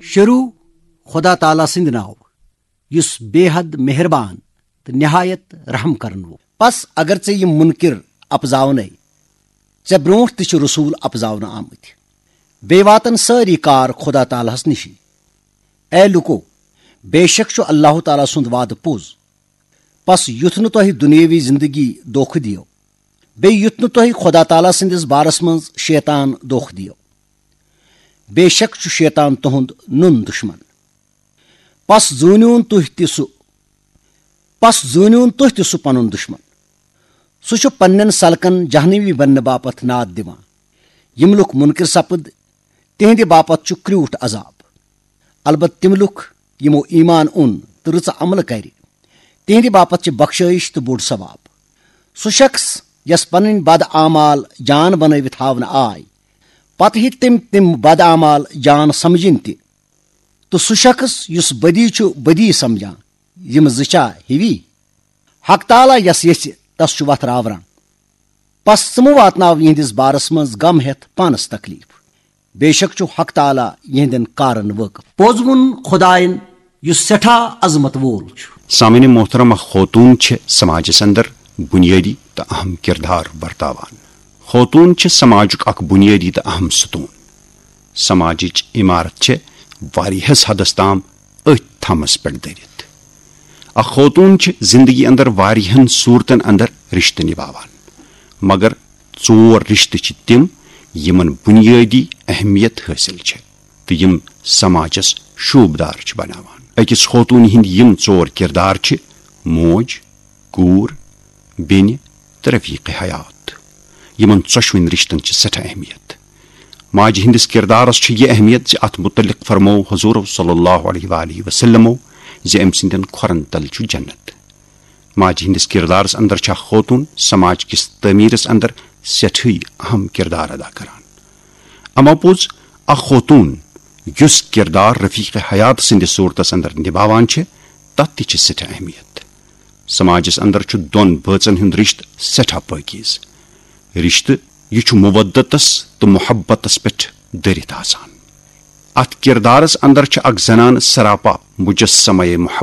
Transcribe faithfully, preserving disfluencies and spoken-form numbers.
شروع خدا تعالیٰ سٕنٛدِ ناوٕ، یُس بے حد مہربان تہٕ نہایت رحم کرن وول۔ پس اگر ژےٚ یِم منکر اپزاونے، ژےٚ برونٛٹھ تہِ چھِ رسول اپزاونہٕ آمٕتۍ۔ بیٚیہِ واتن سٲری کار خدا تعالیٰ ہس نِشی۔ اے لوٗکو، بے شک چھُ اللہ تعالیٰ سُنٛد وعدٕ پوٚز۔ پس یُتھ نہٕ تۄہہِ دُنیٲوی زندگی دھوکہٕ دِیو، بیٚیہِ یُتھ نہٕ تۄہہِ خدا تعالیٰ سٕنٛدِس بارس منٛز شیطان دھوکہٕ دِیو۔ بے شک چھُ شیطان تُہُنٛد نُن دُشمن۔ پس زوٗنِوُن تُہۍ تہِ سُہ، پس زوٗنِوُن تُہۍ تہِ سُہ پنُن دُشمن۔ سُہ چھُ پننٮ۪ن سلکن جہنمی بننہٕ باپتھ ناد دِوان۔ یِم لُکھ منکر سپٕد، تِہنٛدِ باپتھ چھُ کرٛوٗٹھ عذاب۔ البتہٕ تِم لُکھ، یِمو ایمان اوٚن تہٕ رٕژٕ عملہٕ کرِ، تِہنٛدِ باپتھ چھِ بخشٲیِش تہٕ بوٚڑ ثواب۔ سُہ شخص یس پنٕنۍ بد اعمال جان بنٲوِتھ ہاونہٕ آے، پتہٕ ہیٚکہِ تٔمۍ تِم بد اعمال جان سمجھِنۍ تہِ۔ تہٕ سُہ شخص یُس بدی چھُ بدی سمجھان، یِم زٕ چھا ہِوی؟ حق تعالیٰ یس یژھِ، تس چھُ وتھ راوران۔ پس ژٕ مہٕ واتناو یِہنٛدِس بارس منٛز غم ہٮ۪تھ پانس تکلیف۔ بے شک چھُ حق تعالیٰ یِہنٛدٮ۪ن کارن وٲقف۔ پوٚز ووٚن خداین، یُس سٮ۪ٹھاہ عظمت وول چھُ۔ سامعین محترم، اکھ خوتون چھِ سماجس اندر بنیٲدی تہٕ اہم کردار ورتاوان۔ خوتون چھِ سماجُک اکھ بنیٲدی تہٕ اہم ستون۔ سماجٕچ عمارت چھِ واریاہس حدس تام أتھۍ تھمس پٮ۪ٹھ دٔرِتھ۔ اکھ خوتون چھِ زندگی اندر واریاہن صورتن اندر رشتہٕ نباوان، مگر ژور رشتہٕ چھِ تِم، یِمن بنیٲدی اہمیت حٲصِل چھِ تہٕ یِم سماجس شوٗبدار چھِ بناوان۔ أکِس خوتوٗنہِ ہٕنٛدۍ یِم ژور کردار چھِ: موج، کوٗر، بیٚنہِ تہٕ رفیق حیات۔ یِمن ژۄشوٕنۍ رشتن چھِ سٮ۪ٹھاہ اہمیت۔ ماجہِ ہٕنٛدِس کردارس چھِ یہِ اہمیت زِ اتھ متعلق فرموو حضور صلی اللہ علیہ وآلہ وسلمو زِ أمۍ سٕنٛدٮ۪ن کھۄرن تل چھُ جنت۔ ماجہِ ہٕنٛدِس کردارس اندر چھےٚ خوتون سماج کِس تعمیرس اندر سٮ۪ٹھٕے اہم کردار ادا کران۔ اما پوٚز، اکھ خوتون یُس کردار رفیق حیات سٕنٛدِس صورتس اندر نباوان چھِ، تتھ تہِ چھِ سٮ۪ٹھاہ اہمیت۔ سماجس اندر چھُ دۄن بٲژن ہُنٛد رشتہٕ سٮ۪ٹھاہ پٲکیز۔ رشتہٕ یہِ چھُ مودتس تہٕ محبتس پٮ۪ٹھ دٔرِتھ آسان۔ اتھ کردارس اندر چھِ اکھ زنان سراپا مجسمے محبت۔